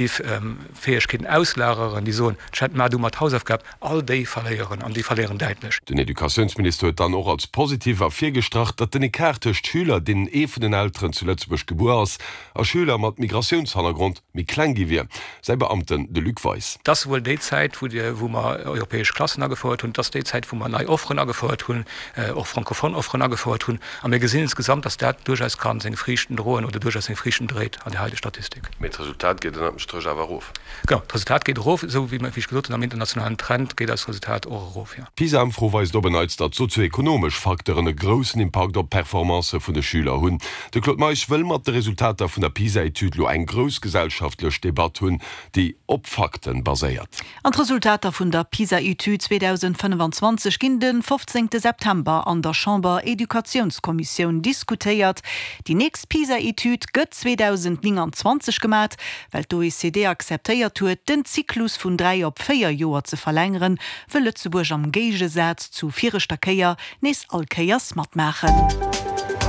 Fäegkeeten auslageren, déi soen, Chat, maach du mer d'Hausaufgab, all déi verléieren, an déi verléieren däitlech. Den Educatiounsminister huet dann och als positiv ervirgestrach, datt den Ecart tëscht Schüler, deenen ee vun den Elteren zu Lëtzebuerg gebuer ass, a Schüler mat Migratiounshannergrond méi kleng gi wier. Säi Beamten, de Luc Weis. Et ass wuel déi Zäit, wou mer europäesch Klassen agefouert hunn, et ass déi Zäit, wou mer nei Offeren agefouert hunn, och francophone Offeren agefouert hunn. A mir gesinn insgesamt, datt dat duerchaus ka seng Friichten droen oder duerchaus seng Friichten dréit an der heiteger Statistik. Mee d'Resultat geet ënnert dem Stréch awer erof. Genau, d'Resultat geet erof, esou wéi ech gesot hunn, am internationalen Trend geet eist Resultat och erof, jo. D'PISA-Ëmfro weist op en Neits, datt sozioekonomesch Facteuren e groussen Impakt op d'Performancë vun de Schüler hunn. De Claude Meisch wëll mat de Resultater vun der PISA-Etüd lo eng grouss gesellschaftlech Debatt hunn, déi op Fakten baséiert. An d'Resultater vun der PISA-Etüd 2025 ginn de 15 September an der Chamber-Educatiounskommissioun diskutéiert. Déi nächst PISA-Etüd gëtt 2029 gemat, well d'OECD akzeptéiert huet, den Zyklus vun 3 op 4 Joer ze verlängeren, wëll Lëtzebuerg am Géigesaz zu viregter Kéier nees all Kéiers matmaachen.